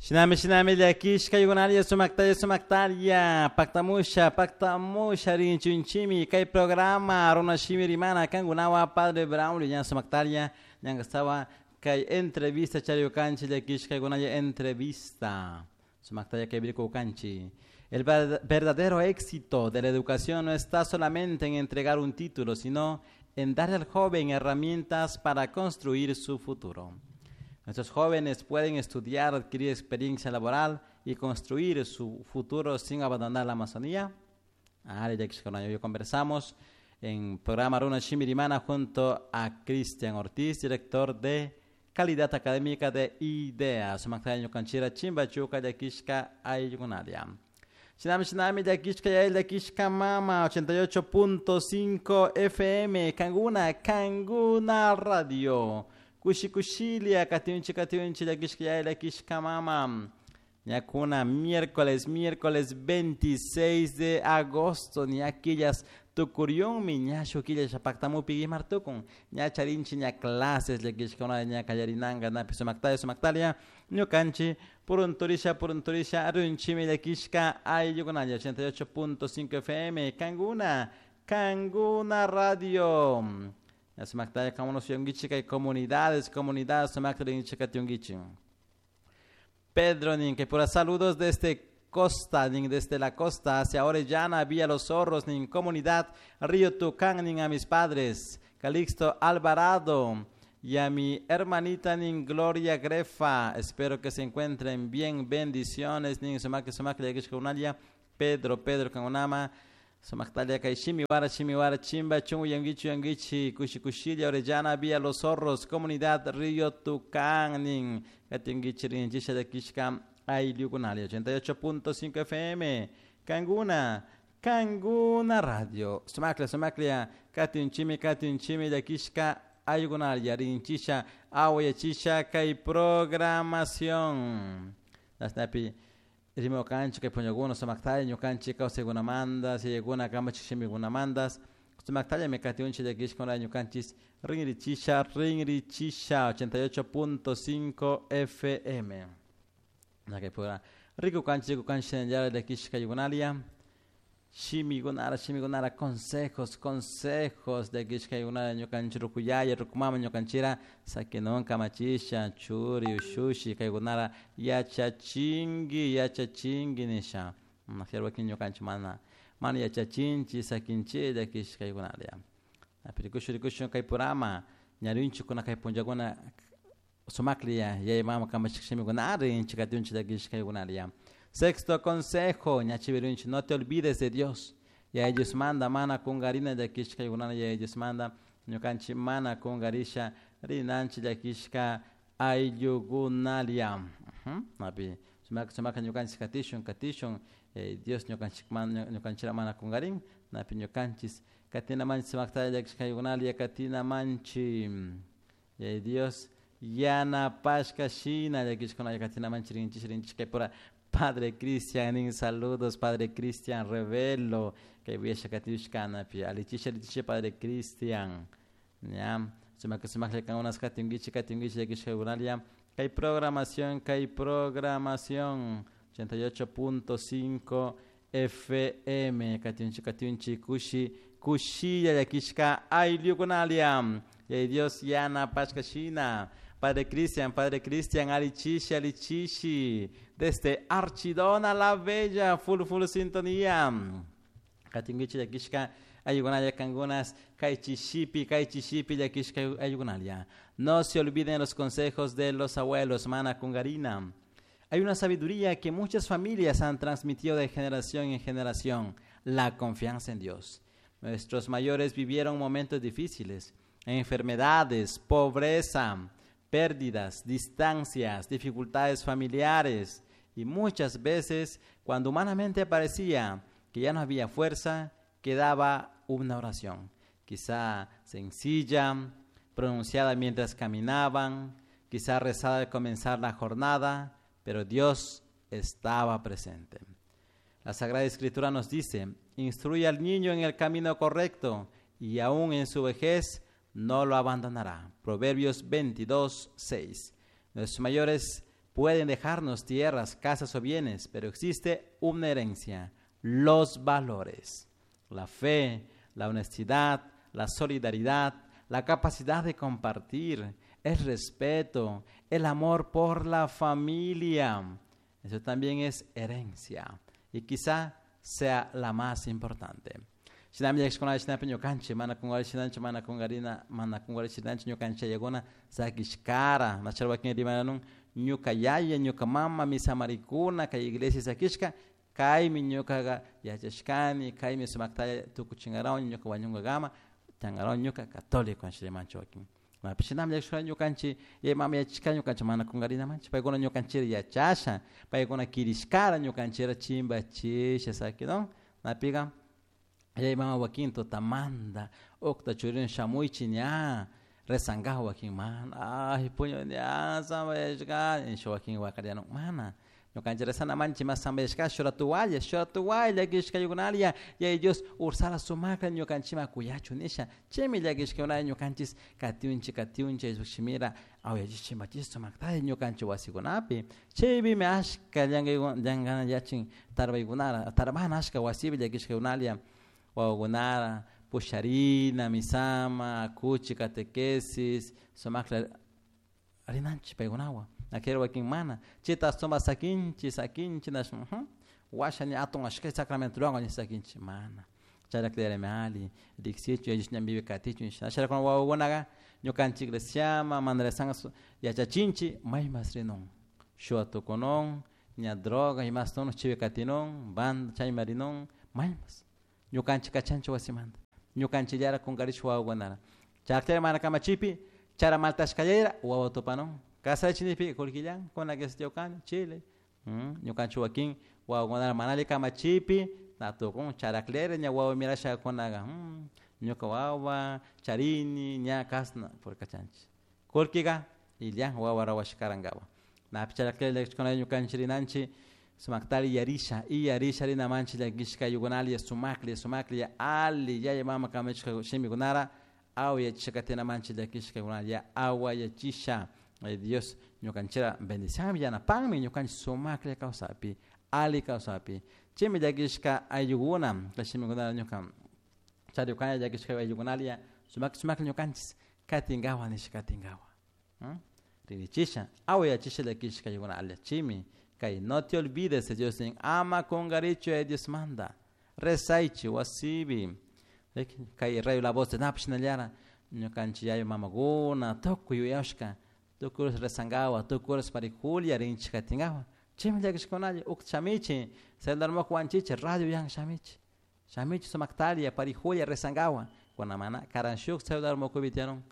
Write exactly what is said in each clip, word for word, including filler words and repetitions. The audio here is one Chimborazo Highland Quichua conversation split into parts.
Shinami shinami llakishka aylluykunaria sumaktalla sumaktalla paktamusha paktamusha rinchunchimi kay programa Runa Shimi Rimana kankunawan Padre Braulio ña sumaktalla ñankastawa kay entrevista chariyukanchik llakishka aylluykunalla entrevista sumaktalla kay kanchi. El verdadero éxito de la educación no está solamente en entregar un título, sino en darle al joven herramientas para construir su futuro. Nuestros jóvenes pueden estudiar, adquirir experiencia laboral y construir su futuro sin abandonar la Amazonía. Ah, ya que conversamos en programa Runa Shimi Rimana junto a Cristian Ortiz, director de Calidad Académica de IDEA. Sumaktalla ñukanchira chimbachuka llakishka ayllukunaria. Shinami shinami llakishka yaya llakishka mama ochenta y ocho punto cinco F M Kanguna Kanguna Radio. Kushi kushilia katiunchi katiunchi llakishka yaya llakishka mama. Ñakuna miércoles, miércoles veintiséis de agosto, ña killas tukuriunmi, ña shuk killa paktamupi martukun, ña charinchi ña clases llakishka ña kallarinanga napi sumaktalla sumaktalla, ñukanchi purunturisha purunturisha runchimi llakishka ayllukunalla ochenta y ocho punto cinco F M Kanguna, Kanguna Radio. Ña sumaktalla kamunos yungichi kay comunidades, comunidades sumakta rinchi katiungichi. Pedro nin que por saludos desde costa, nin desde la costa hacia Orellana, Villa Los Zorros, nin comunidad Río Tucán, nin a mis padres, Calixto Alvarado y a mi hermanita nin Gloria Grefa. Espero que se encuentren bien. Bendiciones, nin sumak sumak Pedro, Pedro kangunama. Sumaktalia kay shimiwara shimiwara chimba chungu yangichi yangichi kushi kushilla Orellana, Villa Los Zorros, comunidad Río Tucán nin katingichi rinchisha llakishka ayllukunalla ochenta y ocho punto cinco F M Kanguna Kanguna Radio. Sumaklia sumaklia katinchimi katinchimi llakishka ayllukunalla rinchisha awayachisha kay programación. Nasnapi rimakanchik kay punllakuna sumaktalla ñukanchik kawsaykunamanta yayakuna kamachik shimikunamantas sumaktallami katiunchik llakishka ñukanchik rinrichisha rinrichisha ochenta y ocho punto cinco F M nakay pura rikukanchik rikukanchik llakishka ayllukunalia shimikunara shimikunara consejos, consejos llakishka ayllukunara ñukanchik rukuyaya rukumama ñukanchira sakinun kamachisha churi ushushi kaykunara yachachinki yachachinki nisha wakin ñukanchik mana mana yachachinchik sakinchik llakishka ayllukunaria. Rikushun rikushun kay purama ñarinchikuna kay punllakuna sumaklla yaya mama kamachik shimikunara rinchik katiunchik llakishka ayllukunaria. Sexto consejo, ñachivirunchi, no te olvides de Dios. Yaya Diosmanta mana kungarina llakishka ayllukunana Yaya Diosmanta ñukanchik mana kungarisha rinanchik llakishka ayllukunalia. Napi sumak sumak ñukanchik katishun katishun eh, Dios ñukanchik ñukanchira mana kungarin napi ñukanchik katinamanchik sumaktalla llakishka ayllukunalia katinamanchik Yaya Dios yanapashka shina llakishkunalla katinamanchik rinchik rinchik kay pura Padre Cristian, saludos Padre Cristian Revelo, que voy a katiushkanapi, alichisha alichisha Padre Cristian, ya, sumak sumak kangunas katingichi katingichi llakishka kay programación, kay programación ochenta y ocho punto cinco F M, katiunchi katiunchi kushi kushilla llakishka ayllukunalia, y Dios yanapashka shina. Padre Cristian, Padre Cristian, Alichishi, Alichishi, desde Archidona la Bella, full, full sintonía. Katingichi llakishka ayllukunalla kangunas, kaychishipi, kaychishipi llakishka ayllukunalia. No se olviden los consejos de los abuelos, mana kungarina. Hay una sabiduría que muchas familias han transmitido de generación en generación, la confianza en Dios. Nuestros mayores vivieron momentos difíciles, enfermedades, pobreza, pérdidas, distancias, dificultades familiares y muchas veces cuando humanamente parecía que ya no había fuerza, quedaba una oración, quizá sencilla, pronunciada mientras caminaban, quizá rezada al comenzar la jornada, pero Dios estaba presente. La Sagrada Escritura nos dice: "Instruye al niño en el camino correcto y aún en su vejez no lo abandonará". Proverbios veintidós, seis. Nuestros mayores Pueden dejarnos tierras, casas o bienes, pero existe una herencia, los valores, la fe, la honestidad, la solidaridad, la capacidad de compartir, el respeto, el amor por la familia. Eso también es herencia y quizá sea la más importante. Shinami llakishkuna shinapi ñukanchik mana kungarishinachu mana kungarina mana kungarishinachu ñukanchik yayakuna sakishkara nachara wakin rimananun ñuka yaya ñuka mama misamarikuna kay iglesia sakishka kaymi ñukaqa yachashkani kaymi sumaktalla tukuchinkarawan ñuka wañunkakama tiyankarawan ñuka católico rimanchik wakin napi shinami llakishkuna ñukanchik yaya mama yachashka ñukanchik mana kungarinamanchik paykuna ñukanchikta yachasha paykuna kirishkara ñukanchikta chimbachisha sakidon napiqa yaya mama wakin tutamanta ukta churin shamuychik ña rezankapak wakin mana ay puñu ña sambayashkani nisha wakin wakarianun mana ñukanchik rezanamanchik mas sambayashka shuk rato walla shuk rato walla llakishkaykunalla yaya Dios ursala sumakla ñukanchikman kuyachun nisha chaymi llakishkaykunalla ñukanchik katiunchik katiunchik Diospuk shimira awayachish chimbachish sumaktalla ñukanchik wasikunapi chaypimi ashka llankay llankana yachin tarpaykunara tarbana ashka wasipi llakishkaykunalla wawakunara pusharina misama kuchi catequesis sumakla rinanchik paykunawan aquel wakin mana chayta suma sakinchik sakinchik nash washa ña atun ashka sacramentowan ña sakinchik mana chayrakllami alli riksichun yallish ñanpipi katichun shina wawakunaka ñukanchik iglesiaman mana rezanka yachachinchik maymas rinun shuwa tukunun ña droga imas chaypi katinun banda chayma rinun maymas ñukanchik kachanchik wasimanta ñukanchikllara kunkarish wawakunara chayrakllari mana kamachipi chara maltashkallayra wawa tupanun kasarachinipi kullkillan kuna quesillawkani chile ñukanchik wakin wawakunara mana alli kamachipi na tukun charaklera ña wawa mirashakunaka ñuka wawa charini ña kasna purkachanchik kullkika illan wawa rawashkarankapak napi charaklera llakishkuna ñukanchik rinanchik sumaktari yarisha y yarisha rinamanchik llakishka ayukunalla sumaklla sumaklla alli yaya mama kamachishka shimikunara awayachisha katinamanchik llakishkakunalla awayachisha Dios ñukanchikta bendicianmi yanapanmi ñukanchik sumaklla kawsapi alli kawsapi chaymi llakishka ayllukuna kay shimikunata ñuka charikani llakishka ayllukunalla sumak sumaklla ñukanchik katinkawa nisha katinkawa ririchisha awayachisha llakishka ayllukuna chaymi kay no te olvides de Dios ama kunkarichu Diosmanta rezaychik wasipi kay radio La Voz de Napi shinallara ñukanchik yaya mamakuna tukuy yuyashka tukuy rezankawa tukuy horas parijulla rinchik katinkawa chaymi llakishkunalla ukta shamichik celular wanchichik radio yan shamichik shamichik sumaktalla parijulla rezankawa kuna mana karan shuk celular mukupi tiyanun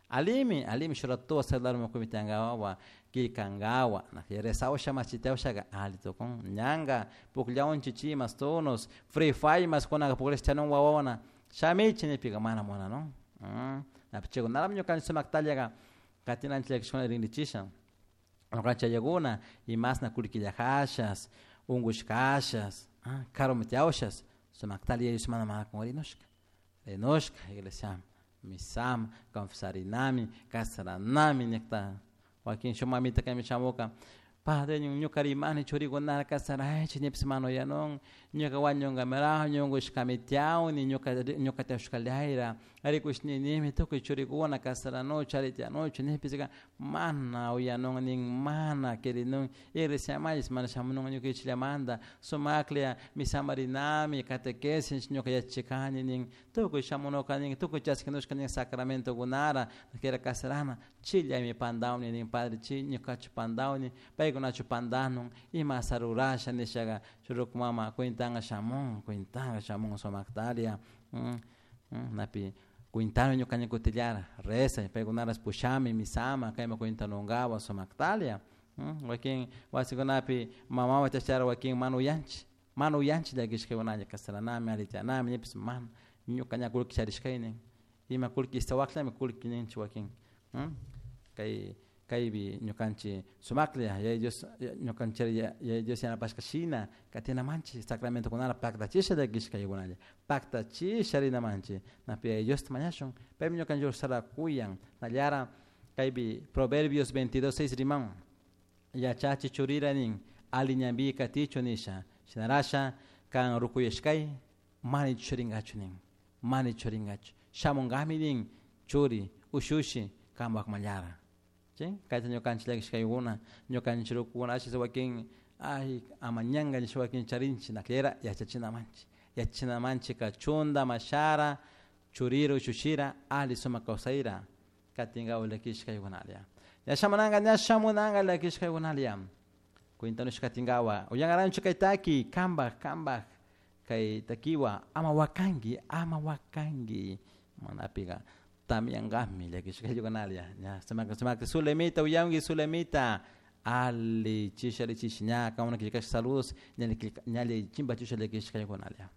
alimi alimi shuk ratowa celular mukupi tiyankawa killkankawa rezawasha machitiawashaka alli tukun ñanka pukllawanchik chay mas tonos Free Fire mas kunaka pukllash tiyanun wawakuna shamichik nipika mana munanun napi chaykunalami ñukanchik sumaktallaka katinanchik llakishkuna rinrichisha ñukanchik yayakuna imasna kullkillajashas unkushkashas karumi tiyawashas sumaktalla yaya Diosmanta mana kunkarinushka rinushka iglesiaman misaman confesarinami kasaranami nikta wakin shuk mamita kaymi shamuka padre ñuka rimani churikunata kasaraychik nipis mana uyanun ñuka wañunkamirajun unkushkami tiyawni ñuka ñuka tiyawshkallayra rikush ninimi tukuy churikuna kasaranuchu ari tiyanuchu nipis mana uyanun nin mana quirinun iglesiamanpish mana shamunun ñukanchikllamanta sumaklla misaman rinami catequesis ñuka yachachikani nin tukuy shamunuka nin tukuy chaskinushka nin sacramentokunara kira kasarana chillami pandawni nin padre chi ñukachu pandawni paykunachu pandanun imasa rurasha nishaka shuk ruku mama cuentanka shamun cuentanka shamun sumaktaria napi cuentani ñukanchik kutillara rezay paykunarash pushami misaman kayman cuentanunkawan sumaktalia wakin wasikunapi mamawan chashara wakin mana uyanchik mana uyanchik llakishkakunalla kasaranami alli tiyanami nipis mana ñuka ña kullki charishkaynin ima kullki istawakllami kullki ninchik wakin kay kaypi ñukanchik sumaklla yaya Dios ñukanchik yaya Dios yanapashka shina katinamanchik sacramentokunata paktachisha llakishkaykunalla paktachisha rinamanchik napi yaya Diosta mañashun paymi ñukanchik sara kuyan nallara kaypi Proverbios veintidós seis riman Yachachi churira nin ali ñanpi katichu nisha shinarasha kan rukuyashkay mana churingachu nin mana churingachu shamunkami nin churi ushushi kampak mallara ¿sí? Kayta ñukanchik llakishkaykuna ñukanchik rukukuna ashis wakin ay amañanka nisha wakin charinchik naklera yachachinamanchik yachachinamanchik kachunda mashara churira ushushira ali sumak kawsayra katinka llakishkaykunalla ña shamunanka ña shamunanka llakishkaykunalla cuentanush katinkawa uyankaranchu kay taki kambak kambak kay takiwa ama wakanki ama wakanki manapika tamyankami llakishkaykunalla ña sumak sumak Zulemita uyanki Zulemita ali chisha ali chishi ña kauna killkash saludos ñali ñali chimpachisha llakishkaykunalla.